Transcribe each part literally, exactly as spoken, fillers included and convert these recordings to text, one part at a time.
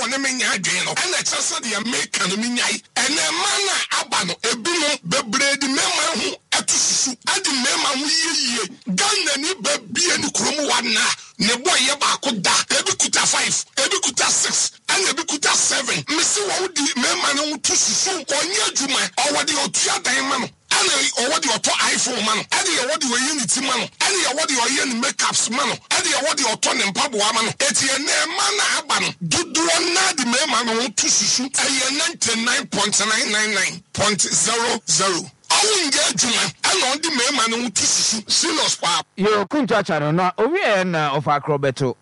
Ɔne me nya adwene no, ɛna ɛkyerɛ sɛ deɛ meka no menyae. Ɛnɛ mmaa no a aba no, ebinom bebree de mmarima ho ɛto susu, ɛde mmarima ho yieyie. Ghana ni bɛbie ne kurom wa na ne bɔ yɛ baako da, ebi kuta five, ebi kuta six, ɛna ebi kuta seven. Mesi wɔn di mmarima no ho to susu. Ɔnyɛ adwuma, ɔwɔ deɛ ɔtua dan ma no, ɛna ɔwɔ deɛ ɔtɔ iPhone ma no, ɛna yɛwɔ deɛ ɔyɛ ne ti ma no, ɛna yɛwɔ deɛ ɔyɛ ne makeups ma no, ɛna yɛwɔ deɛ ɔtɔ ne mpaboa ma no. Eti ɛnɛ mmaa no aba no dodoɔ naa de mmarima no ho to susu. Ɛyɛ ninety nine point nine nine nine point zero zero. Ɔwɔ nyɛ adwuma, ɛna ɔde mmarima no ho to susu serious paa. Yo, Kumchacha no na owie na ɔfa Akorɔbɛto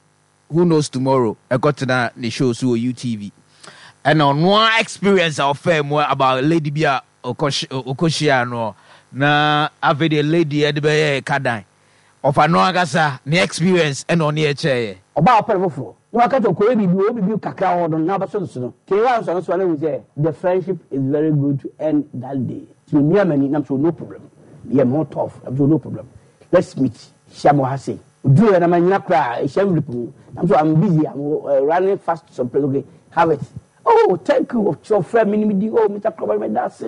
Who Knows Tomorrow ɛkɔtena ne show so wɔ U T V, ɛna ɔnoa experience a ɔfaa mu about lady bi a ɔkɔhyia no, na afei deɛ lady ɛde bɛyɛ kadan. Ɔfa no ankasa ne experience ɛna ɔne ɛkyɛɛyɛ. Ɔbaa ɔpɛ no foforɔ na waka kyerɛ ɔkɔyɛ biribi, ɔwɔ biribi kakra wɔ no na ɔbɛsɔ no so no kee wa nsɔ no so a, na ehu sɛ the friendship is very good to end that day. Nti memia m'ani nam so, no problem, yɛ me ho tough nam so, no problem, let's meet, hyia me wɔ ha sei. Oduru yɛ na ma nyina koraa ɛhyɛ envelope mu nam so, I'm busy, I'm uh, running fast to some place. Okay, have it. Oh, thank you. Ɔfrɛ mi ni mi di, oh, Mister Krɔbɔ, mi da se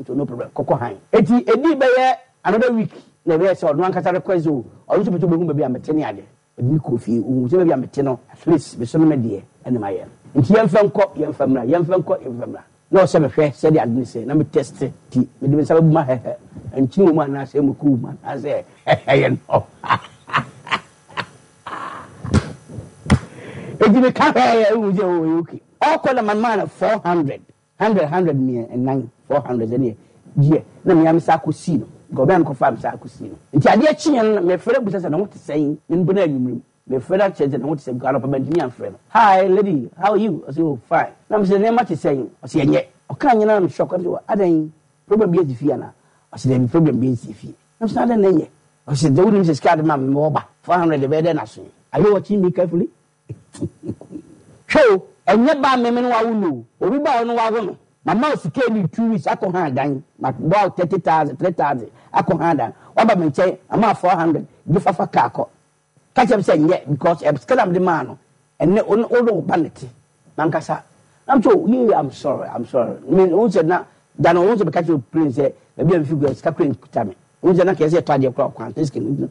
so, no problem, kɔkɔ han. Eti edi bɛyɛ another week na ɛbɛyɛ sɛ ɔno ankasa request o, ɔno nso pɛ sɛ ɔbɛhu baabi a mete ne ade. Ɔde mi kɔ fie, ohun sɛ baabi a mete no, at least meso no me deɛ ɛna ma yɛ no. Nti yɛmfa nkɔ, yɛmfa mmra, yɛmfa nkɔ, yɛmfa mmra, na ɔsɛ mehwɛ sɛdeɛ ade ne sɛ na me test ti mede me nsa bɛbu ma hɛhɛ nkyene wɔ mu anaasɛ mako wɔ mu anaasɛ ɛyɛ no. Eti meka hwɛɛ ehu sɛ o, ɛyɛ okay. Ɔkɔ na ma maa no four hundred hundred hundred mmiɛ nnan, four hundred ɛneɛ gyeɛ na mmea me sa akɔ sii no nka ɔbɛn kɔfa me sa akɔ sii no. Nti adeɛ kyeɛ no, mefrɛ busa sɛ ne ho te sɛn. Me mpo na anwummerɛ mu mefrɛ no akyerɛ sɛ ne ho te sɛn, because anɔpa bɛntumi amfrɛ no. Hi lady, how are you? Ɔsɛ oh, fine. Na mesɛ nneɛma te sɛn? Ɔsɛ ɛnyɛ. Ɔka nyina na me shock. Ɔsɛ adan, problem bi asi fie ana? Ɔsɛ dɛbi, problem bi nsi fie. Na mesɛ adan na ɛnyɛ? Ɔsɛ sɛ wonim sɛ sika de ma me mewɔ ba four hundred bɛyɛ dɛ na so. Are you watching me carefully? Hwɛ o, ɛnyɛ ba meme no wawo no o, obi ba ɔno wawo no. Mama o sika ni two weeks akɔ ha dan, ma bɔ thirty thousand, three thousand akɔ ha dan. Waba me nkyɛn, mama four hundred gye fafa kaa kɔ ka kyerɛ me sɛ nyɛ because ɛ sika na mede maa no ɛnɛ o o no ba ne te mankasa. I'm so yeah, I'm sorry, I'm sorry. Me o sɛ na dan o sɛ bɛka kyerɛ plane sɛ baabi a mefi kura sika kura nkuta me o sɛ na kɛse ɛtɔ adeɛ kora ɔkwan sɛ sika no,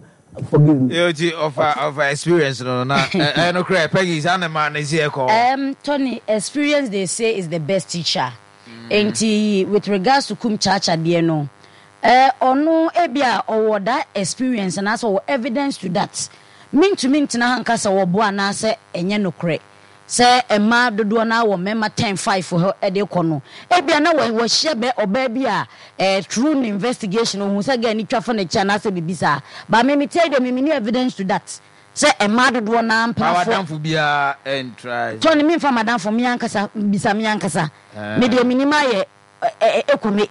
forgive me. Yo, ti ɔfa ɔfa experience no na ɛ no korɛ Peggy saa ne ma ne si ɛkɔ. Um, Tony, experience they say is the best teacher. Nti with regards to Kumchacha deɛ no, eh, ɔno ebi a ɔwɔ that experience anaasɛ ɔwɔ evidence to that. Mintumi ntena ha nka sɛ wɔboa anaasɛ ɛnyɛ nokorɛ sɛ mmaa dodoɔ no wɔ mmarima ten five hɔ de kɔ no. Ebia na wɔahyia bɛ ɔbaa bi a eh, through ne investigation ohun sɛ girl ni twa fa n'akyi anaasɛ biribi saa, but me me tell you, me me ni evidence to that sɛ mmaa dodoɔ no Ma mpenafoɔ. Wadamfo biara ɛntra. Tɔni, mi nfa madamfo, mi ankasa bisa mi ankasa. Mi deɛ mi nim ayɛ ɛ ɛ ekome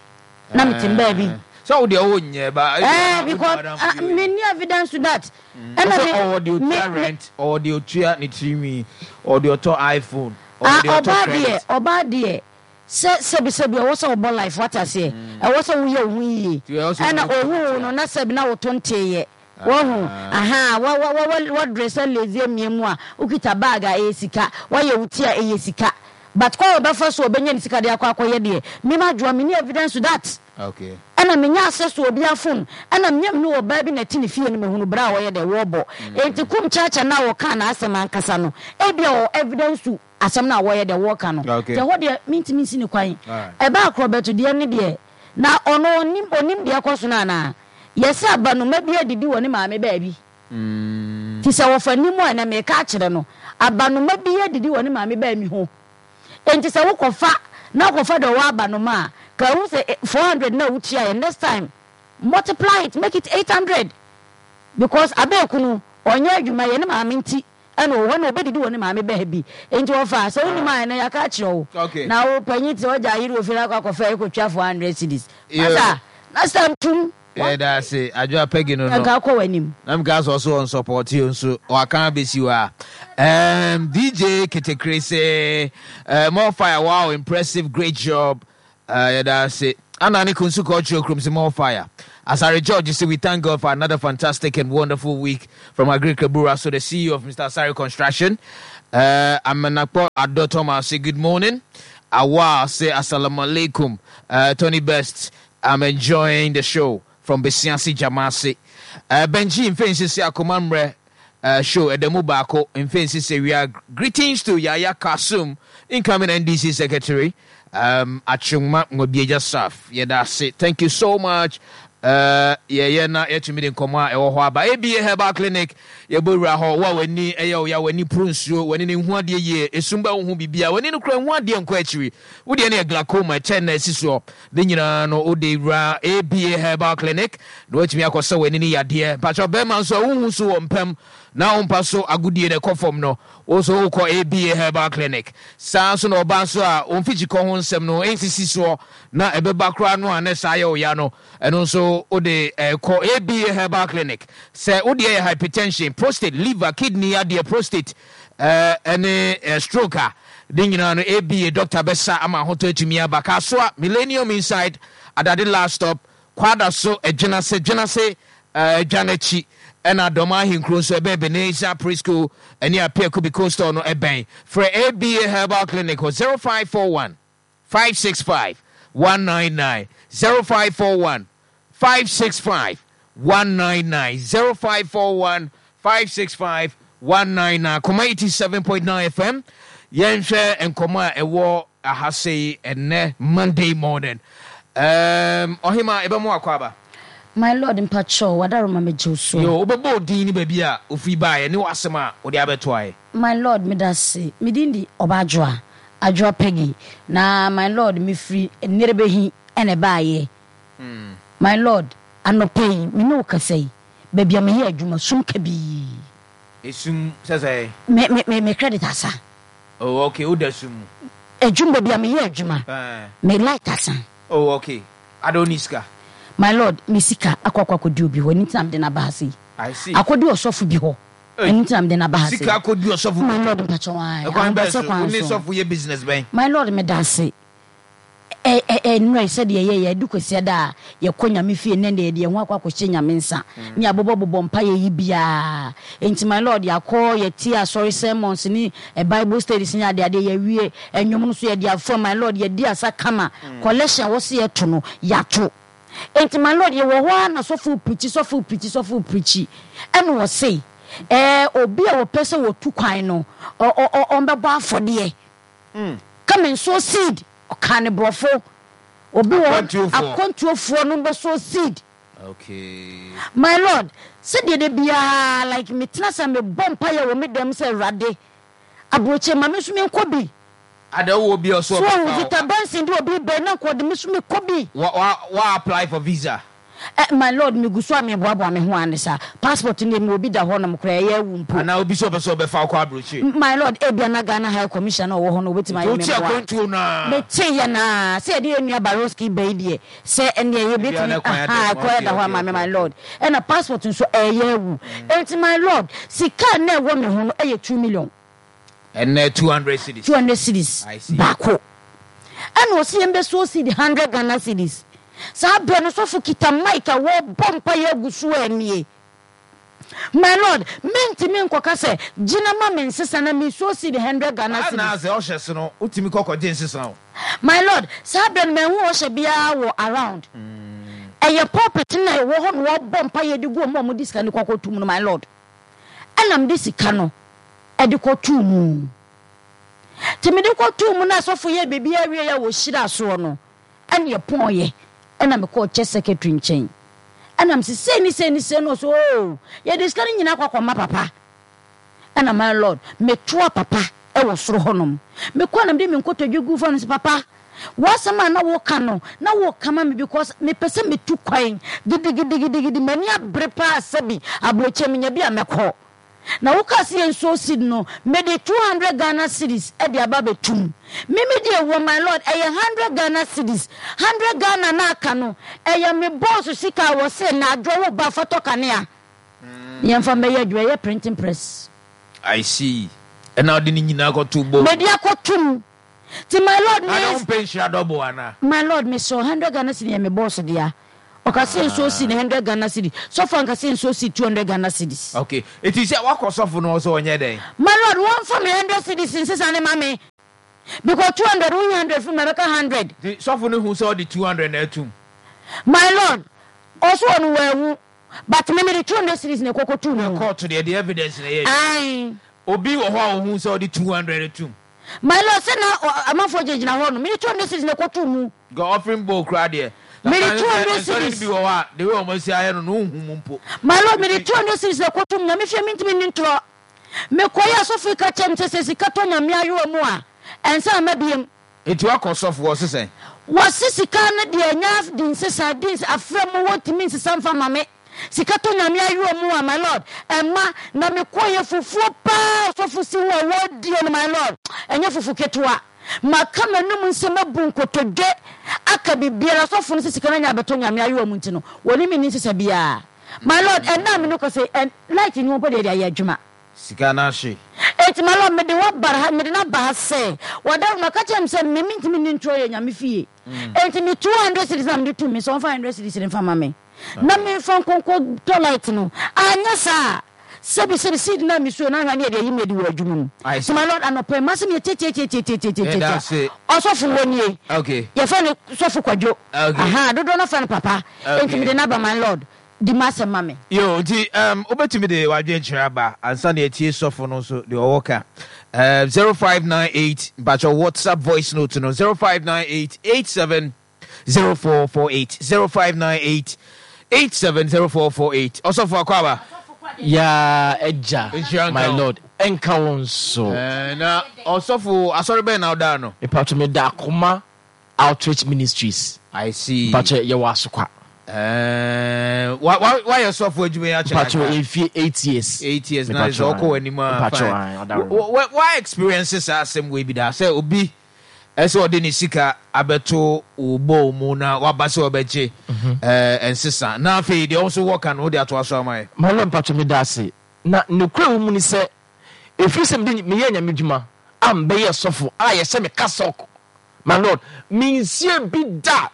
na mi ti baabi. Sɛ wo deɛ wonyɛ ba. Ɛɛ, because ah, mi ni evidence to that. Ɛna mi ɔwɔ deɛ otua rent, ɔwɔ deɛ otua ne tirinwi, ɔwɔ deɛ ɔtɔ iPhone, ɔwɔ deɛ ɔtɔ ɔbaa deɛ credit. Ɔbaa deɛ, sɛ sɛbi sɛbi, ɛwɔ sɛ ɔbɔ life wate aseɛ, ɛwɔ sɛ woyɛ wo ho yie. Ɛna owu no na sɛbi na woto nteeyɛ wɔhu aha wa wa wa wa dress lazy emie mu a wokita bag a ɛyɛ sika, wayɛ wo ti a ɛyɛ sika, but kɔ a ɔbɛfa so ɔbɛnya ne sika de akɔ akɔyɛ deɛ, mima adwoa mi ni evidence to that. Okay. Ɛna menya access to obi phone, ɛna menya me ne ɔbaa bi na ɛte ne fie no, mehunu berɛ a wɔyɛ dɛ wɔbɔ. Enti Kumchacha na wɔka n'asɛm ankasa no, ebia wɔ evidence to asɛm no a wɔyɛ dɛ wɔka no. Okay. Nti ɛhɔ deɛ mentumi nsi ne kwan. Alright. Ɛbaa Akorɔbɛto deɛ ne deɛ na ɔno onim onim deɛ ɛkɔ so no anaa yɛsɛ abanoma bi adidi wɔ ne maame baabi. Mm. Nti sɛ wɔfa nim a, ɛnɛ meka akyerɛ no, abanoma bi adidi wɔ ne maame baabi ho. Nti sɛ wokɔfa na wokɔfa deɛ ɔwɔ abanoma a, ka hu sɛ four hundred na wotua yɛ, next time multiply it, make it eight hundred, because abeeku no ɔnyɛ adwuma yɛ ne maame nti ɛna ɔwɔ hɔ na ɔbɛdidi wɔ ne maame bɛɛ bi. Nti wɔfa sɛ wonim a, ɛnɛ yɛaka akyerɛ wo. Okay. Na wo panyin te ɔgya ayere wɔ fie na akɔ akɔfa ɛkɔtwa four hundred cedis. Yeah. Masa last time tum. Yɛda ase, Adwoa Peggy no no. Nka kɔ w'anim. Na meka sɛ ɔso ɔnsupporte o, nso waka abɛsi hɔ a um, D J Ketekre sɛ uh, more fire, wow, impressive, great job. uh, yɛda ase. Ana ne Kunsu Cultural Kurom sɛ more fire. Asare George say we thank God for another fantastic and wonderful week from Agri Kabura, so the C E O of Mister Asare Construction. Uh, Amenakpo Adotoma say good morning. Awa say assalamu alaikum. Uh, Tony Best, I'm enjoying the show from Besiansi Jamasi. Uh, Benji Mfensi Akomamre uh, show Edemu Bako Mfensi say we are greetings to Yaya Kasum, incoming N D C secretary. Um, Achungma Ngobieja Saf. Yeah, that's it. Thank you so much. Uh, yeah, yeah, na yetumi de nkɔmɔ a ɛwɔ hɔ aba. A B A Herbal Clinic, yɛbɔ wura hɔ, wa w'ani, ɛyɛ wo ya, w'ani puru nsuo, w'ani ne ho adeɛ yie, esum bɛ wo ho bibia, w'ani no kura ho adeɛ nkɔ akyiri. Wo deɛ ne yɛ glaucoma, ɛkyɛ na ɛsi soɔ. Ne nyinaa no, wo de wura A B A Herbal Clinic, na woatumi akɔ sɛ w'ani ne yadeɛ. Mpakyɛ bɛrima nso a wohu so wɔ mpam, na wo mpa so agodie na ɛkɔ fam no, wo nso wokɔ A B A Herbal Clinic. Saa nso na ɔbaa nso a wo mfikyikɔ ho nsɛm no ɛnsisi soɔ, na ɛbɛba koraa no a na saa yɛ wo ya no, ɛno nso wo de ɛkɔ A B A Herbal Clinic. Sɛ wo deɛ yɛ hypertension, prostate, liver, kidney adeɛ, prostate, eh, ɛne, eh, stroke a, ne nyinaa no A B A doctor bɛsa ama ahotɔ atumi aba. Kasoa, Millennium Inside, Adade Last Stop, Kwada so, Adwenase, Dwenase, eh, Adwanakyi, ɛna Dɔm Ahenkuro nso ɛbɛn Ebenezer Preschool ɛne Apia Kubi Coastal no ɛbɛn. Frɛ A B A Herbal Clinic wɔ zero five four one, five six five, one nine nine, zero five four one, five six five, one nine nine, zero five four one, five six five, one nine nine. Koma eighty-seven point nine F M. Yɛnhwɛ nkɔmɔ a ɛwɔ aha sei ɛnnɛ Monday morning. Um, Ɔhema, ɛbɛmo akɔ aba? My Lord, mpacho, wadaroma me gye so. Yo, wobɛbɔ odin ni baabi a ofiri baeɛ ne w'asɛm a wode abɛto ayɛ. My Lord, medase. Me din di Ɔbaadwoa, Adwoa Peggy. Na my Lord, me firi Nnerebehi ɛna ɛbaeɛ. Hmm. My Lord, anɔpa yi, me ne wo kasa yi, baabi a meyɛ adwuma, sum kabii. Esum, sɛ sɛ? Me, me, me, me credit asa. Oh, okay, wo da sum mu. Adwuma baabi a meyɛ adwuma, Eh. me light asa. Oh, okay. I don't need sika. My Lord, me sika akɔ akɔ akɔdi obi hɔ, ɛno nti na mede n'aba ha sei. I see. Akɔdi ɔsɔfo bi hɔ. Hey. Ɛno nti na mede n'aba ha sei. Sika akɔdi ɔsɔfo bi My hɔ. Lord, mpakyɛ wo ae. Ɛkwan bɛn Ahobrɛsɛ so? kwan Wo ne so. sɔfo yɛ business bɛn? My Lord, meda ase. Ɛ, ɛ, ɛ, nnora yi, sɛdeɛ yɛyɛ, yɛde kwasiada a yɛkɔ Nyame fie, nnɛ deɛ yɛde yɛn ho akɔ akɔhyɛ Nyame nsa. Mm. Ne abobɔbobɔ mpaeɛ yi biara. Enti, my Lord, yɛakɔ, yɛte asɔre sermons ne, ɛ, Bible studies ne adeade, yɛawie. Ɛnwom no so yɛde afa, my Lord, yɛdi asa kama. Mm. Collection a wɔsi yɛto no, yɛato. Enti, my Lord, yɛwɔ hɔ a na sɔfo preachi, sɔfo preachi, sɔfo preachi. Ɛna wɔse, ɛ, obi a wɔpɛ sɛ wɔtu kwan no, ɔ, ɔ, ɔ, ɔmbɛbɔ afɔdeɛ. Mm. Come and sow seed. Ɔka ne borɔfo. Obi wɔ hɔ, Akwantuofoɔ. akwantuofoɔ no bɛ sow seed. Okay. My Lord, sɛdeɛ de biara, like me tena sɛ me bɔ mpaeɛ wɔ me dɛm sɛ Awurade, aburokye ma me nso me nkɔ bi. Ada wo obi ɔso So, ɔbɛfa wo. Victor Benson de obi bɛn na nkɔ de me nso me kɔ bi. Wa, wa, wa apply for visa? Eh, my Lord, me gu so a me boaboa me ho ane sa. Passport ne me obi da hɔ nom koraa, ɛyɛ awu mpo. Ana obi so ɔpɛ sɛ ɔbɛfa wo kɔ aburokye? M-, my Lord, ebia na Ghana High Commissioner na ɔwɔ hɔ no, obetumi ayɛ me Nti wote mmoa. akwantuo no a? Mete yɛ na, sɛ yɛde yɛn nua Baroski ba yi deɛ, sɛ ɛneɛ yɛbɛtumi, Ebia na kwan aha, ada mu, kwan okay, da hɔ okay, ama me, okay, my okay. Lord. Ɛna passport nso ɛyɛ awu. Mm. Enti, my Lord, sika na ɛwɔ me ho no ɛyɛ two million. Ɛnɛ two hundred cedis. two hundred cedis. I see. Baako. Ɛna ɔsi yɛn bɛ so cedi hundred Ghana cedis. Saa abirɛ no sɔfo kita mic a wɔbɔ mpa yɛ agu so ɛnie. My Lord, mintimi nkɔka sɛ gyina ma me nsesa na mi so cedi hundred Ghana Saa cedis. na sɛ ɔhyɛ so no, wotumi kɔ kɔgye nsesa o. My Lord, saa abirɛ no mɛnhu ɔhyɛ biara wɔ around. Mm. Ɛyɛ pulpit na ɛwɔ hɔ na wɔbɔ mpa yɛ de gu ɔmo a ɔmo de sika no kɔ akɔtum no, my Lord. Ɛna mede sika no ɛde kɔtuu mu. Nti mede kɔtuu mu na asɔfo yɛ biribi awie a wɔhyira soɔ no, ɛne ɛpɔnyɛ. Ɛna mekɔɔ church secretary nkyɛn. Ɛna mese sei ne sei ne sei no, ɔse, oh, yɛde sika no nyinaa kɔ akɔma papa. Ɛna my Lord, metoa papa ɛwɔ soro hɔnom. Mekɔɔ na mede me nkotodwe gu fam no sɛ, papa, w'asɛm a na woka no, na woka ma me because mepɛ sɛ metu kwan gidigidigidigidi, m'ani abere paa sɛbi aburokyi menya bi a mɛkɔ. Na woka sɛ yɛn sow seed no, mede two hundred Ghana cedis ɛde aba abɛtum. Mimi deɛ wɔ my Lord, ɛyɛ hundred Ghana cedis. hundred Ghana na aka no, ɛyɛ me boss sika a wɔse na adwo wo ba fa tɔ kanea. Yɛmfa mbɛyɛ adwuma, ɛyɛ printing press. I see. Ɛna ɔde ne nyinaa kɔto bɔ. Mede akɔtum. Ti my Lord, Ana me wo mpɛ nhyira dɔbo ana? My Lord, me so hundred Ghana cedis yɛ me boss dea. Ɔka sɛ nsuo si ne hundred Ghana cedis. Sɔfo anka sɛ nsuo si two hundred Ghana cedis. Okay, eti sɛ wakɔ sɔfo no sɛ ɔnyɛ dɛn? My lord, wɔmfa me hundred cedis nsesa ne ma me. Because two hundred, woyi hundred firi mu a, ɛbɛka hundred. Nti sɔfo no hu sɛ ɔde two hundred na atum? My lord, ɔso ɔno wanhu, but me mede two hundred cedis na ɛkɔkɔtuu mu. Na court deɛ, de evidence na ɛyɛ adwuma. Ae. Obi wɔ hɔ a ɔhu sɛ ɔde two hundred atum? My lord, sɛ na amanfoɔ gyinagyina hɔ no, mede two hundred cedis na ɛkɔtoo mu. Nka offering bowl koraa deɛ, Mede two hundred nsɔre no cedis. bi wɔ hɔ a, the way wɔn asi ayɛ no no, wonhu mu mpo. My lord, mede two hundred cedis na ɛkɔtoo mu. Nyame fie mentumi nni ntorɔ. Mekɔeɛ asɔfo yi ka kyerɛɛ me sɛ, sɛ sika tɔ Nyame ayowa mu a, ɛnsa mma biom. Enti woakɔ sɔfo hɔ, ɔse sɛn? Wɔse sika no deɛ ɛnyɛ di nsesa, di nsesa, afrɛ mu wɔntumi nsesa mfa ma me. Sika tɔ Nyame ayowa mu a, my lord, ɛmma. Na mekɔeɛ fufuo paa ɔsɔfo si ho a wɔredie no, my lord, ɛnyɛ fufu ketewa. Maka m'anum nsɛm abu nkotodwe aka biribiara, ɔsɔfo no se sika no anya abɛtɔ Nyame ayowa mu nti no, wɔne me nni nsesa biara. My lord, ɛnnɛ a me ne wo kasa yi, ɛ, light nni hɔ mpo deɛ yɛde ayɛ adwuma. Sika no ahye. Enti my lord, mede wo aba ha, mede no aba ha sɛ, w'adaworo no, ɔka kyerɛɛ me sɛ me mentumi nni ntorɔ yɛ Nyame fie. Enti me two hundred cedis na mede tum me sɛ ɔmfa hundred cedis no mfa ma me na memfa nkɔ nkɔtɔ light no. Anyɛ saa a, sɛbi sɛbi seed no a mesuo no ahwɛ a ne yɛde ayi me adi wɔ adwuma mu. I Nti see. my lord, anɔpa yi, m'asɛm yɛ Yɛda tiatiatiatiatiatiatia. ase. Ɔsɔfo wɔ nie. Okay. Yɛfrɛ no Sɔfo Kwadwo. Okay. Ahaa, dodoɔ no frɛ no Papa. Enti Okay. mede no aba, my lord. Di m'asɛm ma me. Yo, nti um, wobɛtumi de w'adwenkyerɛ aba ansa na yɛatie sɔfo no nso deɛ ɔwɔ ka. Uh, zero five nine eight, mpakyɛ WhatsApp voice note no, zero five nine eight eight seven zero four four eight, zero five nine eight eight seven zero four four eight. Ɔsɔfo akɔ aba. Yaa agya, Nhyira nka my wo. lord, ɛnka wo nso. Eh, na ɔsɔfo asɔre bɛn na wodaa no? Mepatwo meda Akoma Outreach Ministries. I see. Mpakyɛ yɛwɔ Asokwa. Eh, wa wa wayɛ sɔfo adwuma yi akyɛ Mpakyɛ kakra. mfie eight years. Eight years na Mepakyɛ sɛ ɔkɔ w'anim a Mpakyɛ fine. ae, ɔdaworo. Wa wa wa experience saa asɛm wei bi da sɛ obi ɛsɛ ɔde ne sika abɛto wo bowl mu na waba sɛ ɔbɛgye ɛɛ nsesa na afei deɛ ɔnso wɔka no wode atoa so ama yɛ. My lord mpakyɛ meda ase. Na nokorɛ wɔ mu ne sɛ ɛfiri sɛ mede meyɛɛ Nyame dwuma a mebɛyɛɛ sɔfo a yɛhyɛ me cassock, my lord, mensiee bi da.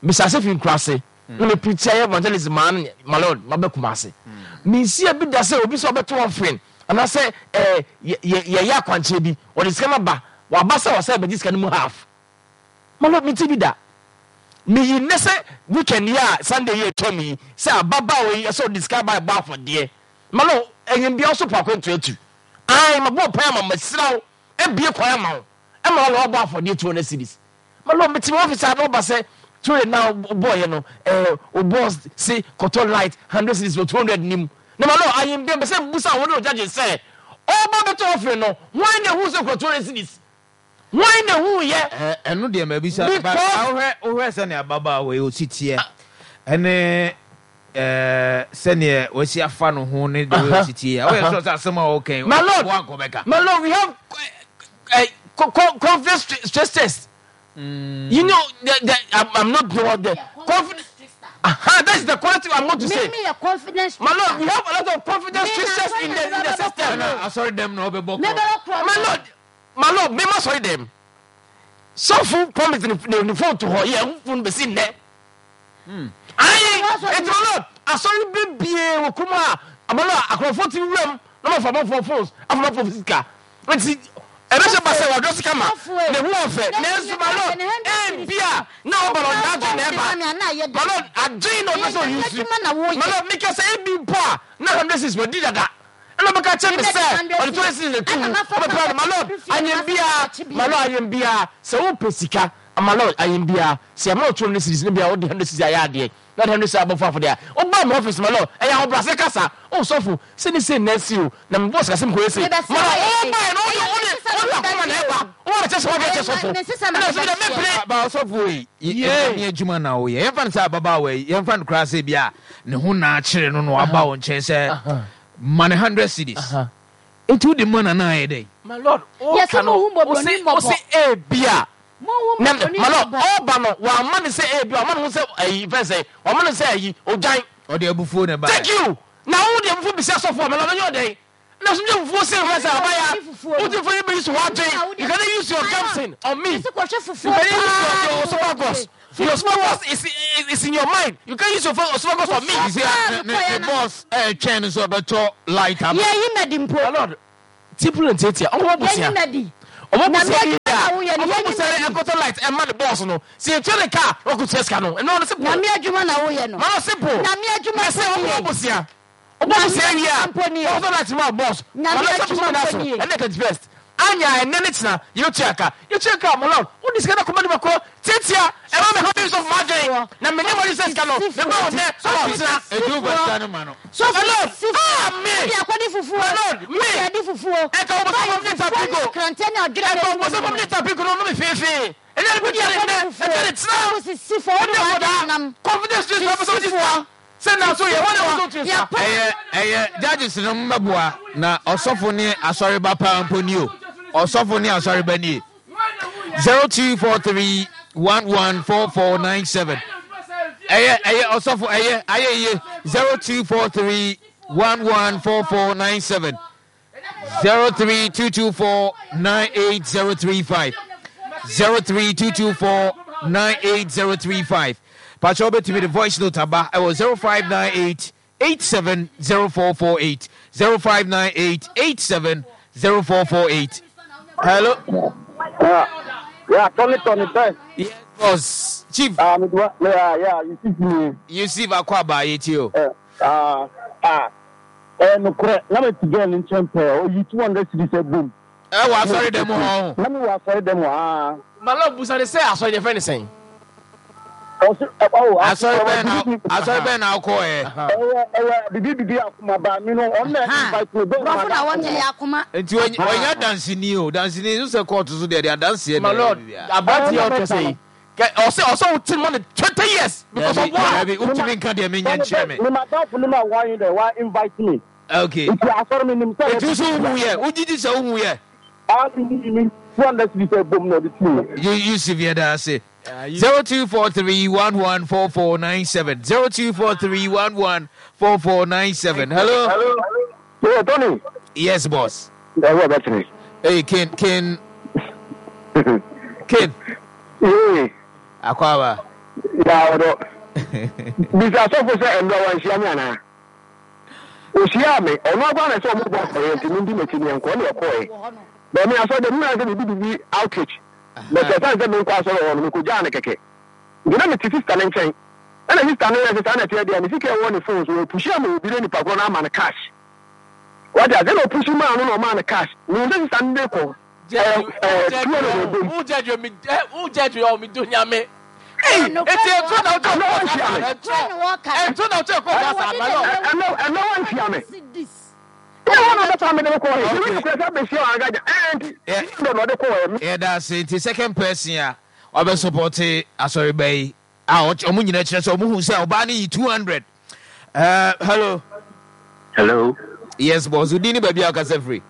Mehyɛ ase firi nkuraase na me preach ayɛ evangelism maa no, my lord, maba Kumase. Mensiee bi da sɛ obi sɛ ɔbɛto offering anaasɛ eh, yɛyɛ akwankyerɛ bi, ɔde sika no aba, waba sɛ ɔsɛ bɛgye sika no mu half. My lord, mente bi da. Meyi nnɛ sɛ weekend yi a Sunday yi atwam yi sɛ ababaawa yi ɛsɛ ɔde sika aba ɛbɔ afɔdeɛ. My lord, ɛnyɛ bia ɔso po akwantu atu. Ae, mabɔ mpae ama masira wo, abie kwan ama wo, ɛma wo na wabɔ afɔdeɛ two hundred cedis. My lord, mete me office a na ɔba sɛ two hundred na wobɔɔyɛ no, eh, wo boss se kɔtɔ light hundred cedis wɔ two hundred nim. Na my lord, ayembea mpɛ sɛ mbusa wo ne wo judges sɛ, ɔba bɛtɔ offering no, hwan na ehuu sɛ okura two hundred cedis? Hwan na ehuu yɛ? Ɛ ɛno deɛ mabisa no, but Because wohwɛ wohwɛ sɛnea ababaawa yi ɔsi teɛ ɛne ɛɛ sɛnea wasi afa ne ho ne the way ɔsi teɛ yi a, woyɛ sure sɛ asɛm a ɔreka yi My lord, woankɔ bɛka? my lord, we have uh, uh, confidence stress test. Mm. You know, the, the, I'm, I'm not doing the confidence. Aha, that's the quality I'm going to say. Me, me, confidence. My lord, we have a lot of confidence stress in the in the system. Sorry, them no be My lord, my lord, me ma sorry them. Sɔfo promise ne ne phone to hɔ yɛ phone bɛsi nnɛ. Ayi, eti my lord, asɔre bebie wɔ kurom a my lord akorɔfo ti wuram na ma fa abɔfoɔ phones afa abɔfoɔ sika. Nti ɛbɛhyɛ ba sɛ wadrɔ sika ma ne ho ɔfɛ nanso my lord ebia na ɔba no n'adwene na ɛba. My lord adwene na ɔpɛ sɛ ɔyi nsu. My lord meka sɛ ebi mpo a na hundred six wadi dada. Ɛna ɔbɛka kyerɛ me sɛ ɔde two hundred cedis na ɛtu mu ɔbɛpra no. My lord anyɛ biara, my lord anyɛ biara sɛ wopɛ sika, my lord anyɛ biara sɛ yɛma wo two hundred cedis na bia wode hundred cedis ayɛ adeɛ na wode hundred cedis abɔfo afɔdeɛ a woba me office, my lord ɛyɛ ahobrɛase kasa. Oh sɔfo sei ne sei na asi o na mebɔɔ sika sɛ mekɔyɛ sei. My lord wobaeɛ no wode wode wode akoma na ɛba woba bɛkyɛ sɛ woadeɛ kyɛ sɔfo ɛna ɔsɛ deɛ mempene. Ba ɔsɔfo yi nyame adwuma na woyɛ yɛmfa no sɛ ababaawa yi yɛmfa no koraa sɛ bia ne ho na akyere no na waba wo nkyɛn sɛ ma ne hundred cedis nti wode ma no anaa ayɛ dɛn? My lord woka no wose wose ebia na my lord ɔba no wamma no sɛ ebia wamma no ho sɛ ayi fɛn sɛ wamma no sɛ ayi odwan. Ɔde abufuo na ɛbaeɛ. Thank you na wo de abufuo bisa sɔfo a my lord ɔnyɛ ɔdɛn na so de abufuo se fɛn sɛ abaya wote fo yi bɛ use w'adwen you cannot use your Gamson on me you cannot use your your esophagus. Your focus is, is, is in your mind. You can't use your focus on me. You see, ne boss ɛtwɛn no so ɔbɛtɔ light ama. Yɛyi na di mpo. My lord, tipul and titia. Ɔmo bɔ Yɛyi na di. Ɔmo bɔ sɛ ɔmo bɔ sɛ ɛkɔtɔ light ɛma ne boss no. Si etua ne car ɔkò tia sika no. Ɛno ɔno simple. Nyame adwuma na woyɛ no. Mama simple. Nyame adwuma Ɛsɛ ɔmo bɔ sia. Ɔmo bɔ sia wie a. Ɔkɔtɔ light ma boss. Nyame adwuma mpo nie. Ɛnɛ thirty first. Anya ɛnɛ ne kyina yɛtua ka. Yɛtua ka mo lord. Wodi sika na kɔma ne ma kɔ tiatia. Ɛma me ha mi sɔfo ma adwene. Na me ne mo sɛ sika no. Me ba wɔ nɛ. Ɔwɔ kyina. Etu bɛ sika no ma no. Sɔfo Lord, sifoɔ. ah me. Wode akɔde fufuo. My lord, me. Wode ade fufuo. Ɛka wo bɔ sɔfo ne tapiko. Krantɛ ne adwene. Ɛka wo bɔ sɔfo ne tapiko no no me feefee. Ɛnyɛ ne bi tia ne nɛ. Ɛkyɛ ne tena. Sisifoɔ wode Wode w'ade kɔda. nam. Confidence to sɔfo sɔfo sika. Sɛ na so yɛ wɔn na wɔn so sika. Ɛyɛ ɛyɛ judges no mmɛboa na ɔsɔfo ne asɔreba paa mpo ni o. Ɔsɔfo ne asɔreba nie. Zero two four three one one four four nine seven. Ɛyɛ ɛyɛ ɔsɔfo ɛyɛ ayɛ yie. Zero two four three one one four four nine seven. Zero three two two four nine eight zero three five. Zero three two two four nine eight zero three five. Patrol betumi the voice note aba ɛwɔ zero five nine eight eight seven zero four four eight zero five nine eight eight seven zero four four eight. Hello. Yeah, yeah, Tony, Tony, best. Yes, boss. Chief. Ah, me do. Yeah, yeah, you see me. Yusuf Akwaba yetio. Eh, ah, ah. Eh, no kure. Na me ti girl in champe. Oh, you two hundred cedis e boom. Eh, wa sorry dem ho. Na me wa sorry dem ah. My lord, busa de sɛ asɔre de fɛ ne sɛn. Oh, Asɔre bɛn na asɔre bɛn na akɔ ɛ. Eh, eh, bibi bibi akoma ba mi no. On na invite me. Brɔfo na wɔnyɛ yɛ akoma. Nti ɔnya dansini o dansini nso sɛ kɔɔto so deɛ de adanseɛ My lord, aberante yɛ ɔtɔ sɛ yi. Ɔsɛ ɔsɛ wo ti mo ne twenty years because of what? Dabi wotumi nka deɛ menyɛ nkyerɛ me. Me madam no ma wa yin de wa invite me. Okay. Nti asɔre mi nim sɛ. Nti nso wohu yɛ wogyigyi sɛ wohu yɛ. Ah, mi mi two hundred cedis e boom na ɔde ti mi. You Yusuf yɛ da ase. Zero two four three one one four four nine seven zero two four three one one four four nine seven. Hello. Hello. Yeah, Tony. Yes, boss. Yeah, what about me? Hey, Ken, Ken, Ken. Yeah. Akwaba. Yeah, what? Bisa sɔfo sɛ ɛnura wa nhyia mi ana? Ohyia mi, ɔno akɔ ana sɛ ɔmo bɔ afɔyɛ nti mi ndi m'akyi ni nkɔ ne ɛkɔ yɛ. Bɛmi asɔ de mi na sɛ bibi bibi outreach. Bɛsɛ san sɛ mi nkɔ asɔrɔ hɔ no mi ko gyaa ne kɛkɛ. Nti na mi ti sista ne nkyɛn. Ɛna sista ne yɛ sɛ saa na ɛteɛ deɛ ne sika ɛwɔ ne phone so opushi ama obi ne nipa korɔ na ama ne cash. Wate ase na opushi maa no na ɔmaa ne cash. Mi n sɛ sista ne de kɔ. Ɛɛ ɛɛ two hundred and boom. Who judge you? Who judge you? Mi do nyame. Hey, eti etu na otu Ɛnɛ wɔn nhyia me. Etu na otu ekɔ gasa my lord. Ɛnɛ ɛnɛ wɔn nhyia me. Ɛnɛ wɔn na ɔbɛta mi de kɔ yɛ. Ebi nukura sɛ abɛhyia wɔn agaja. Ɛɛ nti ɛnɛ na ɔde kɔ yɛ. Yeah, that's it. The second person a ɔbɛ support asɔreba yi a ɔmo nyinaa kyerɛ sɛ ɔmo hu sɛ ɔbaa no yi two hundred. Uh, hello. Hello. Yes, boss. Odi ni baabi a ɔkasa firi.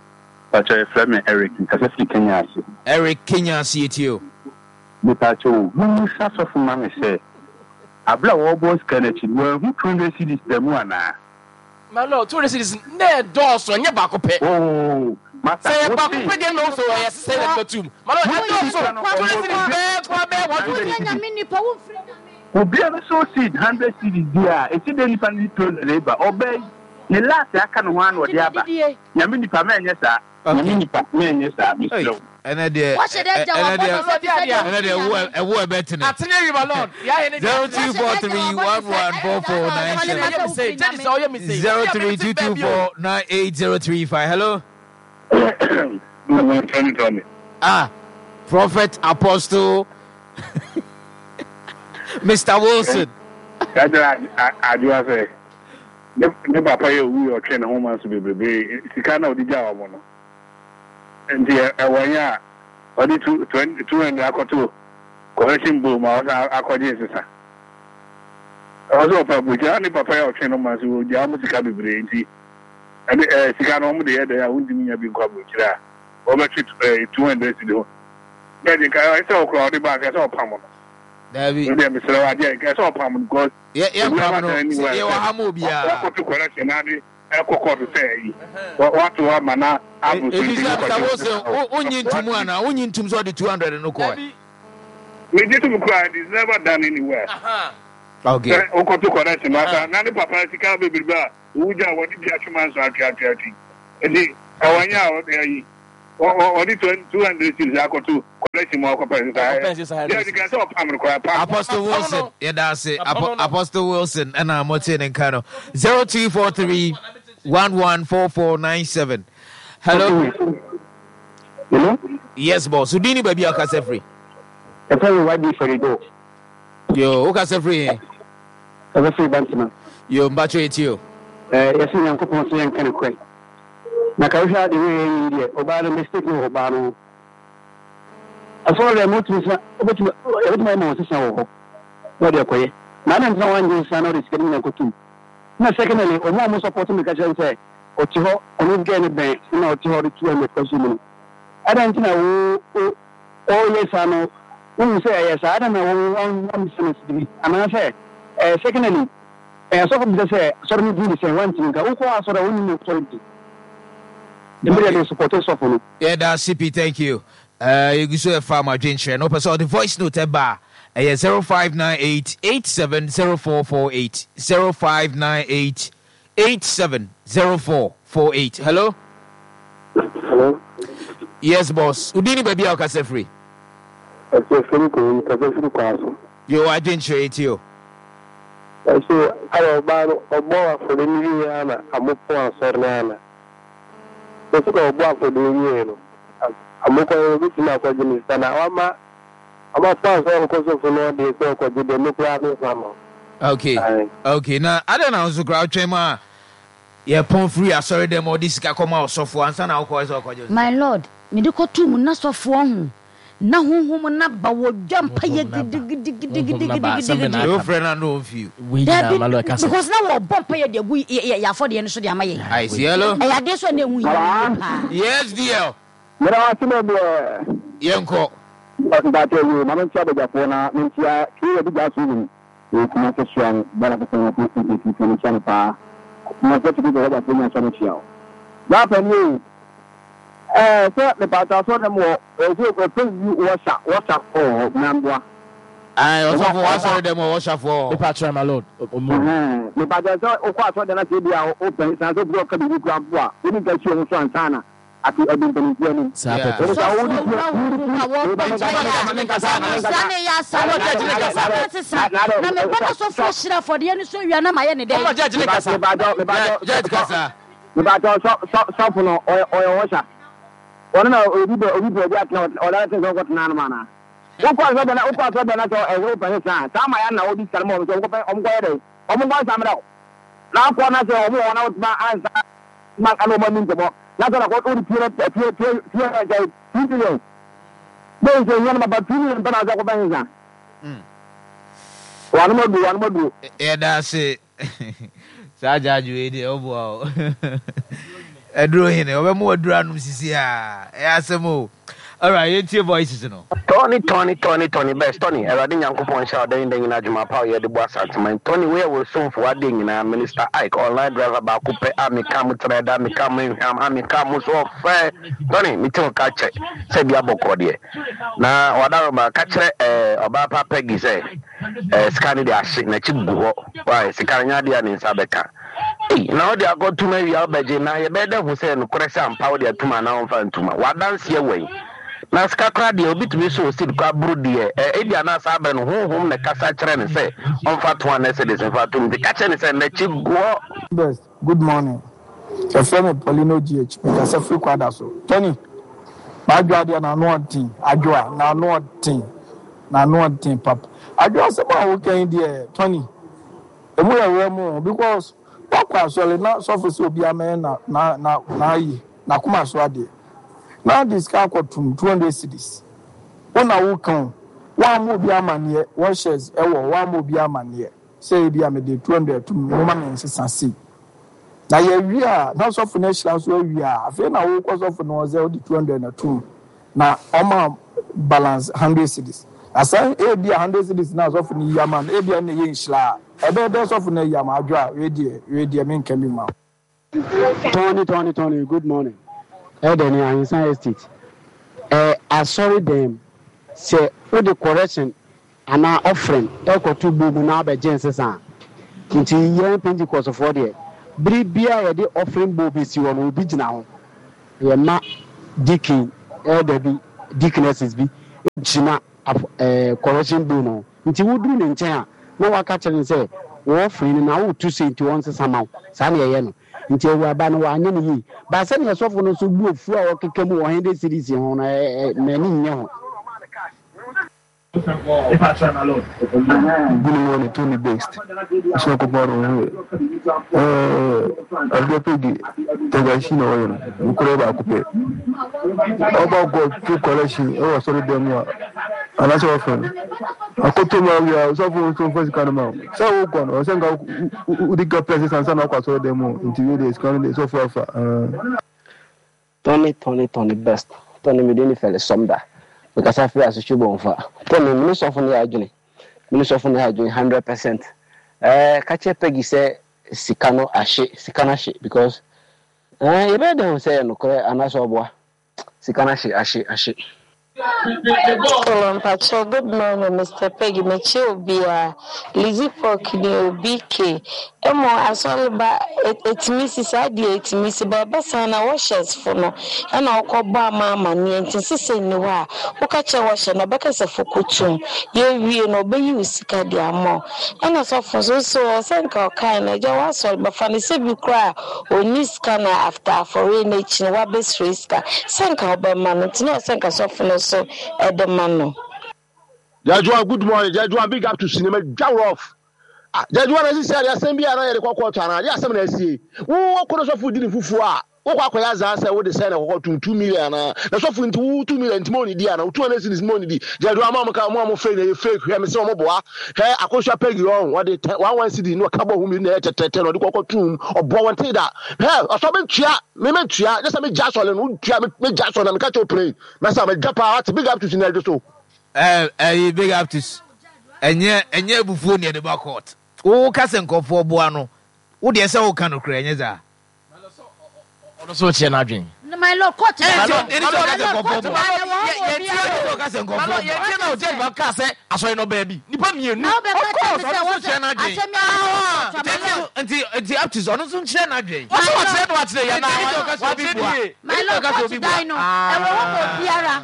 Pacho efrɛ me Eric nkasa firi Kenya ase. Eric Kenya ase etie o. Mepacho, mumusa sɔfo ma me sɛ abla wɔbɔ sika n'akyi no wɔahu two hundred cedis da mu anaa? My lord, two hundred cedis ne dɔɔso ɛnyɛ baako pɛ. Oh, masa. Sɛ yɛ baako pɛ deɛ na ɔso ɛyɛ sisɛ yɛ bɛtum. My lord, ɛdɔɔso two hundred cedis bɛɛ kɔ bɛɛ one Wonyɛ fifty. nyame nipa womfiri nyame. Obiara so seed hundred cedis bi a esi de nipa ne two hundred ba ɔbɛ ne last aka ne ho ano ɔde aba. Nyame nipa mɛnyɛ saa. Nyame nipa mɛnyɛ saa mesrɛ wo. Ɛnɛ deɛ Wahyɛ dɛ gya ɛnɛ wabɔ deɛ no sɛ deɛ- ɛnɛ deɛ ɛwo ɛwo ɛbɛtene. Atene wi my lord. Yɛ ne Zero two four three one one four four nine seven. Judge sɛ ɔyɛ mistake. Zero three two two four nine eight zero three five. Hello. Tony Tony. Ah, Prophet Apostle Mister Wilson. Kakyɛ adwoa sɛ ne ne papa yɛ owu yɛ ɔtwe ne ho ma so bebrebe sika na ɔde gya wɔn no nti ɛwɔ nyɛ a ɔde two twenty two hundred akɔto correction bowl ma ɔsan akɔgye nsesa ɔwɔ sɛ ɔpa aburokyire ne papa yɛ ɔtwe ne ho ma so ɔgya wɔn sika bebree nti ɛne ɛɛ sika no wɔn de yɛ dɛ a wɔntumi nya bi nkɔ aburokyire a wɔbɛtwe ɛɛ two hundred si de hɔ bɛɛ de nka ɛsɛ ɔkora ɔde ba nka ɛsɛ ɔpam no. Dabi. Ɛsɛ mesrɛ wo adeɛ nka ɛsɛ ɔpam no because Yɛ yɛ pam no yɛ wɔ ha ma obiara. Wɔkɔto correction na de ɛkɔ kɔɔto sɛ ɛyi wato ama na abo so Ebi sɛ Mister Wilson wonyi ntum ana wonyi ntum sɛ ɔde two hundred no kɔɛ. Megye to mu koraa, it is never done anywhere. Okay. Sɛ wokɔto collection mu asa na ne papa sika bebrebe a owu gya a wɔde bi atwe manso atwe atwe atwe. Nti ɛwɔ nyɛ a ɔde ayi ɔde two hundred cedis akɔto collection mu akɔpɛ sesa. Yɛ de ka sɛ ɔpam no koraa pam. Apostle Wilson yɛda ase. Apostle Wilson ɛna mote ne nka no zero two four three one one four four nine seven. Hello. Hello. Yes, boss. So dini baabi a ɔkasa firi. Ɛfɛ mi wadi fɛrido. Yo, wokasa firi he? Ɛfɛ firi Bantama. Yo, mbatwo eti o. Ɛɛ yɛsɛ Nyankopɔn sɛ yɛnka ne korɛ. Na ka wohwɛ ade wei yɛ yi deɛ ɔbaa no mistake no wɔ ɔbaa no ho. Asɔre deɛ motumi sa wobɛtumi yɛbɛtumi ayɛ ma wɔn sesa wɔ hɔ na ɔde akɔyɛ. Na adɛn nti na wangye sesa na ɔde sika no nyinaa kɔtum. Na secondly ɔmo a ɔmo support me ka kyerɛ no sɛ ɔte hɔ ɔno girl no bɛn na ɔte hɔ ɔde two hundred kɔhyɛ mu no. Adɛn nti na wo wo ɔreyɛ saa no wohu sɛ ɛyɛ saa adɛn na wo wammisa no biribi anaasɛ eh, secondly eh, asɔfo bisa sɛ asɔre no din de sɛn woantumi nka wokɔ asɔre a wonnim asɔre din nti medeɛ me support sɔfo no. Yɛda ase pii, thank you. Eh, yɛgu so ɛfa mo adwenkyerɛ no. Wopɛ sɛ ɔde voice note ɛba a, ɛyɛ zero five nine eight eight seven zero four four eight, zero five nine eight eight seven zero four four eight. Hello? Hello? Yes, boss. Wodin ne baabi a wokasa firi? Ɛsɛ firi kò yi kasa firi kɔ aso. Yo, adwenkyerɛ yi ti o. Ɛso ayɛ ɔbaa no ɔbɔ afɔre no wie ana amopɔn asɔre no ana. Bɛsi ka ɔbɔ afɔre no wie no amokɔ yɛ obetumi akɔgye ne sika na wama amapɔn asɔre kɔ sɔfo no ɔdeɛ sɛ ɔkɔgye deɛ me koraa me nfa ma. Okay, okay. Na adɛn na nso koraa wotwɛn ma yɛpɔn firi asɔre dɛm a ɔde sika kɔma ɔsɔfoɔ ansa na wokɔɛ sɛ ɔkɔgye wo My lord, mede kɔtoo mu na sɔfoɔ ho na honhom no aba wɔ dwa mpaeɛ gidigidigidigidigidi. Wofrɛ no a na ɔmfi o. Dabi, because na wɔbɔ mpaeɛ de agu yɛ afɔdeɛ no so de ama yɛn. I see, hello. Ɛyɛ adeɛ so a na ɛho hia yie paa. Yes, D L. Meda wo ase bebree. Yɛnkɔ. Mpakyɛw yoo, ma menkyia abadwafoɔ na menkyia Kay Adigya Susan wɔ Kumase Suan Bɔla Kɛsɛn Ase Nketesia mekyia no paa. Kumase Atwitwi Bɔla Bɔla Nya Sɔ mekyia wo. Bra panin oo, ɛɛ sɛ mepakyɛw asɔre dɛm wɔ ɛsɛ ɛfɛ yi wɔsa wɔsa wɔ hɔ mɛmboa. Ae, ɔsɔfo wɔ asɔre dɛm wɔ wɔsafoɔ wɔ hɔ. Mepakyɛw my lord, ɔmo. Ɛhɛn, mepakyɛw sɛ wokɔ asɔre dɛm na sɛ ebi a wopɛ san sɛ obi ɔka biribi koraa mpo a, wode nka si wɔn so ansa na ate adu mpanimfoɔ anim. Saa pɛpɛ. Sɔfo awura wo ho a wɔbɔ mpaeɛ a, nsa ne yɛ asa wɔ na sesa na mebɔ na sɔfo ahyira afɔdeɛ no so awia na mayɛ ne dɛn. Mepakyɛw sɔfo no ɔyɛ ɔhyɛ ɔno na obi bɛ obi bɛ obi atena ɔda ne sɛ ɔkɔtena anom anaa wokɔ asɔ dɛn wokɔ asɔ dɛn na sɛ ɛsɛ wopɛ sesa saa ma yɛ na obi sika no ma ɔmo sɛ ɔmo kɔpɛ ɔmo kɔyɛ dɛn ɔmo nkɔ nsa mmerɛ wo na akɔ na sɛ ɔmo wɔ hɔ na wotuma ansa ma ana ɔmo ani nkɔmɔ na sɛ nakɔ wode pie na pie pie pie sɛ two million bɛyi sɛ hia no maba two million pɛ na sɛ kɔpɛ sesa wanom aduro wanom aduro. Yɛda ase saa gyaagye wei deɛ ɔboa o aduro hene ɔbɛmo aduro anom sisi a ɛyɛ asɛm o. Alright, yɛntie voices no. Tony Tony Tony Tony best Tony Awurade Nyankopɔn nhyira wo dɛn dɛn nyinaa adwuma pa a woyɛ de boa Asanteman Tony woyɛ wo somfo w'adeɛ nyinaa Minister Ike online driver baako pɛ a meka mo trɛ da meka mo nhwam a meka mo so ɔfɛ Tony mete wo ka kyɛ sɛ bia bɔkɔɔ deɛ na wadaroma ka kyerɛ eh, ɔbaa pa Peggy sɛ eh, sika no de ahye n'akyi gu hɔ why sika no nyɛ adeɛ a ne nsa bɛka. Ei, na wode akɔtom awia wobɛgye, na yɛbɛyɛ dɛ hu sɛ nokorɛ sɛ ampa wode atum anaa womfa ntum a? W'adanseɛ wɔ he? Na sika koraa deɛ, obi tumi sɔ seed koraa boro deɛ, ɛ, ebia na saa berɛ no Honhom na ɛkasa kyerɛ no sɛ ɔmfa two hundred cedis mfa tom, nti ka kyerɛ no sɛ n'akyi guɔ. Best, good morning. Yɛfrɛ me Paulino G H. Mekasa firi Kwadaso. Tony, m'adwoa deɛ n'ano ɔden. Adwoa, n'ano ɔden. N'ano ɔden papa. Adwoa asɛm a woka yi deɛ, Tony, Emu yɛ werɛ mo because wakɔ asɔre na sɔfo sɛ obiara mɛyɛ na na na n'ayi n'akoma so adeɛ na de sika akɔtum two hundred cedis wo na wo ka o woammɔ obi amaneɛ washers ɛwɔ hɔ woammɔ obi amaneɛ sɛ ebi a mede two hundred tum mo ma me nsesa sei na yɛwie a na sɔfo no ahyira so awie a afei na wokɔ sɔfo no hɔ sɛ wode two hundred na tum na ɔma balance hundred cedis na sɛ ebia hundred cedis na sɔfo no yi ama no ebia na ɛyɛ nhyira a ɛbɛyɛ dɛ sɔfo no ayi ama adwo a wei deɛ wei deɛ menka bi ma wo. Tony Tony Tony good morning. Ɛdɛ ni Ahinsan Estate. Ɛ asɔre dɛm Sɛ wode correction anaa offering rekɔto bowl mu na wabɛgye nsesa a, nti yɛn Pentecostfoɔ deɛ, bere biara a yɛde offering bowl bɛsi hɔ no, obi gyina ho. Yɛma deacon, elder bi, deaconesses bi gyina af ɛɛ correction bowl no ho. Nti woduru ne nkyɛn a, na waka kyerɛ no sɛ wo offering no na woreto sei nti ɔnsesa ma wo. Saa na yɛyɛ no. Nti awuraba no wanyɛ no yie. But sɛdeɛ sɔfo no nso bu afu a ɔkeka mu wɔ hundred cedis ho no, ɛ ɛ m'ani nnye ho. Good morning Tony Best nso akɔpɔ no ho yɛ ɛɛ Adwoa Peggy Tagashi na ɔyɛ no nokorɛ baako pɛ ɔba kɔ to collection ɛwɔ asɔre dɛm mu a anaasɛ ɔfɛ no akɔtɔ mu awia sɔfo nso mfa sika no ma wo sɛ wokɔ no ɔsɛ nka wodi ka pɛ sɛ sansa na wakɔ asɔre dɛm mu nti wei deɛ sika no deɛ sɔfo afa ɛɛ. Tɔne tɔne tɔne best tɔne me din ne Fɛle Sɔmda me kasa firi Asotwe Bɔnfa tɔne me ne sɔfo no yɛ adwene me ne sɔfo no yɛ adwene hundred percent ɛɛ ka kyerɛ Peggy sɛ sika no ahye sika no ahye because ɛɛ yɛbɛyɛ dɛn ahu sɛ ɛyɛ nokorɛ anaasɛ ɔboa sika no ahye ahye ahye. Hello mpakyɛw good morning Mister Peggy mekyia obiaa Lizzy Pork ni o B K Emo asɔre ba etumi si saa deɛ etumi si but ɛba saa na washers fo no ɛna ɔkɔ bɔ ama amaneɛ nti nsesa nni hɔ a woka kyerɛ washer no ɔbɛka sɛ fo kɔtum yɛwie no ɔbɛyi wo sika de ama wo ɛna sɔfo nso so ɔsɛ nka ɔkae no agya w'asɔre ba fa no sɛ bi koraa a ɔnni sika na after afɔreɛ no akyi no wabɛsrɛ sika sɛ nka wobɛma no nti na ɔsɛ nka sɔfo no nso de ma no. Judge one good morning Judge one big up to cinema dwa rough ah Judge one asisi ade asɛm bi a na yɛde kɔ kɔɔto anaa de asɛm na asie wo wɔkɔ no sɔfo di ne fufuo a wokɔ akɔyɛ azaa sɛ wode sɛ na kɔkɔ tum two million anaa na sɔfo nti wo two million nti ma ɔnidi anaa wo two hundred cedis ma ɔnidi Judge one ma ɔmo ka ɔmo a ɔmo fake na ɛyɛ fake hwɛ me sɛ ɔmo boa hwɛ akosua pɛgi ɔn wɔde tɛ one one cedi na ɔka bɔ ho mmienu na ɛyɛ tɛtɛtɛ na ɔde kɔkɔ tum ɔboa wɔn te da hwɛ ɔsɔ mentua me mentua nyɛ sɛ megya asɔre no wotua megya asɔre na meka kyerɛ wo pray mɛsa megya paa wate big up to sinadwo so. Ɛɛ ɛyi big up to ɛnyɛ ɛnyɛ abufuo na yɛde ba court wo ka sɛ nkurɔfoɔ boa no wo deɛ sɛ woka nokorɛ ɛnyɛ saa. Ɔno nso kyerɛ n'adwene. My lord court ba My lord, ɛni sɛ ɔka sɛ nkurɔfoɔ boa my lord, my lord, yɛn tiɛ na ɔjɛ ba kaa sɛ asɔre no ɔbaa bi nipa mmienu. Na wobɛka Of course, kyerɛ me sɛ ɔno nso wɔsɛ kyerɛ n'adwene. asɛm yi a na Nti nti nti up to ɔno nso nkyerɛ n'adwene. My Ɔsɛ lord. wakyerɛ no wakyerɛ yɛn na Nti ɛni sɛ ɔka sɛ obi wakyerɛ boa. ne yie. My Ɛni sɛ lord ɔka sɛ court obi boa. dan no ɛwɔ hɔ ma obiara.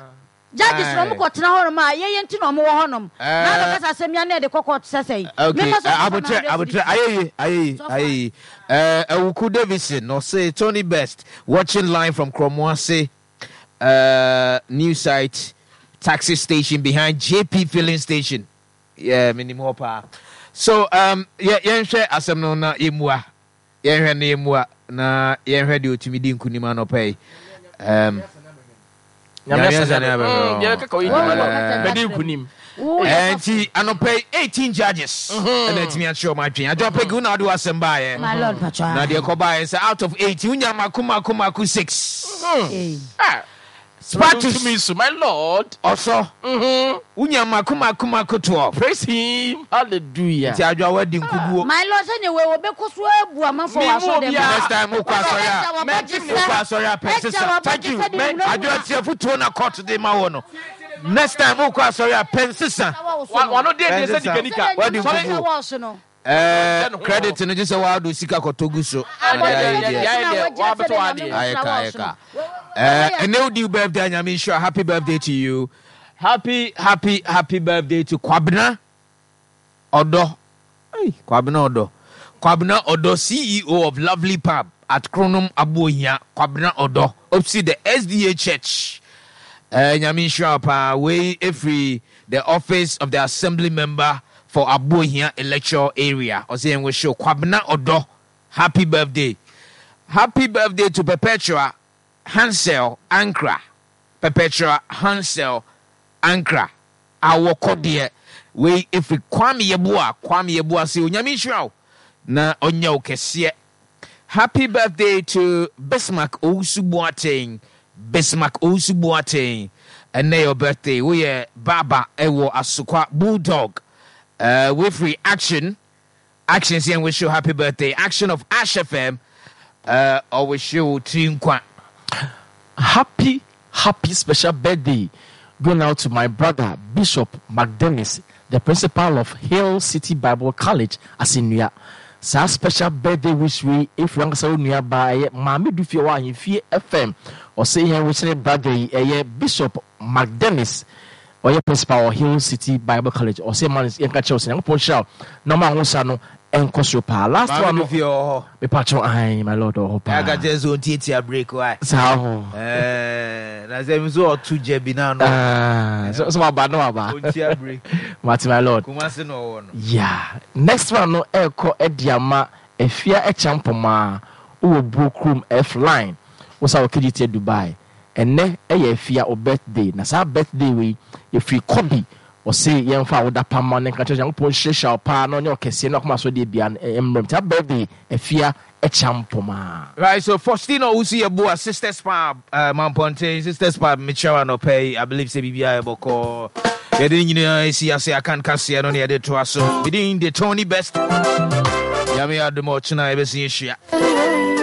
Judges no ɔmo kɔ tena hɔ nom a yɛyɛ nti na ɔmo wɔ hɔ nom. Na abɛka sɛ asɛm yi a na yɛde kɔ court sɛ sɛn. Okay, Memma sɔfo uh, mfa abotrɛ, m'address abotrɛ, bi. ayeyi, ayeyi, Sɔfo. ayeyi. Uh, Awuku Davison, ɔse Tony Best, watching live from Kromoase, uh, new site, taxi station behind J P filling station. Yeah, minim hɔ paa. So, um, yɛ yɛnhwɛ asɛm no na yɛmmua. Yɛnhwɛ no yɛmmua na yɛnhwɛ deɛ ɔtumi di nkunim anɔpa yi. Um, Nyame Nyame asɛm asɛm ne mm, abɛhwɛ. deɛ kaka oyi Wo di ma wɔ no kasa bɛdi kyerɛ nkunim. Wo yɛ Eh, sɔfo. nti anɔpa yi eighteen judges ɛna atumi akyerɛ ɔmo adwene. Adwoa Peggy wo na wode w'asɛm baeɛ. My lord patwa. Na deɛ ɛkɔbaeɛ sɛ out of eighteen wonya mako mako mako six. Hey. Ah, Spartus tumi so my lord. Ɔsɔ wonya mako mako mako twelve. Praise him hallelujah. Nti Adwoa woadi nkuguo. My lord sɛ ne wei wɔbɛkɔ so abu amanfoɔ Me wɔ mu asɔre dɛm. obiara. Next time wokɔ asɔre a Ɛgya Mɛgye wabɔgye me wokɔ sɛ asɔre a pɛ ɛgya sesa. Thank wabɔgye you. sɛ de Mɛ hunahuna. Adwoa tie afotuo na court de ma wɔ no. Next time wokɔ asɔre a pɛ nsesa. Wɔso no. Wano deɛ Pɛ deɛ sɛ nsesa. nika nika. Sɛdeɛ Wadi nyame Sɔre. sɛ nkuguo. wɔɔso no. Eh, Ɔkyerɛ ne ho. credit no gye sɛ woado sika kɔtɔ gu so. Na deɛ Abɔgye ayɛ sɛ deɛ. deɛ Yɛayɛ na deɛ wagyina wabɛtɔ sɛdeɛ nyame adeɛ. Ayɛ sra ka ayɛ wɔɔso no. ka. Eh, ɛnɛ wodi wo birthday a Nyame nhyira. Happy birthday to you. Happy happy happy birthday to Kwabena Odo. Hey, Kwabena Odo. Kwabena Odo, C E O of Lovely Pub at Kronum Abuohia. Kwabena Odo. Opposite the S D A Church. Uh, Nyame nhyira wo paa. Wei ɛfiri the office of the assembly member for Abuohia electoral area. Ɔsɛ yɛn wish you Kwabena Odo happy birthday. Happy birthday to Perpetua Hansel Ankra. Perpetua Hansel Ankra. Awɔkɔ deɛ wei ɛfiri Kwame Yeboah. Kwame Yeboah sɛ Onyame nhyira wo na ɔnyɛ wo kɛseɛ. Happy birthday to Bismarck Owusu Boateng. Bismarck Owusu Boateng. Ɛnɛ your birthday. Woyɛ Baba ɛwɔ Asokwa Bulldog. Uh, wefiri Action. Action sɛ wish you happy birthday. Action of Ash F M. Uh, ɔwish you tiri nkwa. Happy happy special birthday going out to my brother Bishop McDennis, the principal of Hill City Bible College, Asennua. Saa special birthday wish wei ɛfiri ankasa wo nua baa ɛyɛ Maame Dufie wɔ Ahemfie F M. Ɔse yɛn wish ne brother yi ɛyɛ Bishop McDennis, ɔyɛ principal wɔ Hill City Bible College. Ɔse ma yɛnka kyerɛ wo sɛ Nyankopɔn nhyira wo na ɔma ahosa no ɛnkɔ soro paa. Last Maame one no, Dufie wɔ hɔ. Mepa kyɛw, ahan, my lord, ɔwɔ hɔ paa. Ɛka kyerɛ sɛ ɔntiatia break wae. Saa ho. Ɛɛ, na sɛ nso ɔto gya bi na ano. Ah, so so waba no waba. Ɔntia break. Mate, my lord. Kumase na ɔwɔ no. Yeah. Next one no ɛkɔ ɛde ama Afia Ɛkyampɔmaa wowɔ Buo kurom F line wosa wɔ K G T Dubai. Ɛnɛ ɛyɛ Afia o birthday, na saa birthday wei ɛfiri Kɔbi. Ɔse yɛmfa awoda pama ne nka kyerɛ Nyankopɔn hyiahyia wo paa na ɔnyɛ ɔkɛseɛ na ɔkoma so deɛ bia no mmerɛm saa birthday, Afia Ɛkyampɔmaa. Right, so Faustina Owusu Yeboah, Sisters Pub, uh, Mamponte, Sisters Pub, mekyerɛ wo anɔpɛ yi, I believe sɛ biribiara yɛbɔkɔɔ. Yɛde ne nyinaa ɛsi ase aka nkaseɛ no ne yɛde toa so. Medin de Tony Best. Nyame adom a ɔkyena yɛbɛsi ahyia.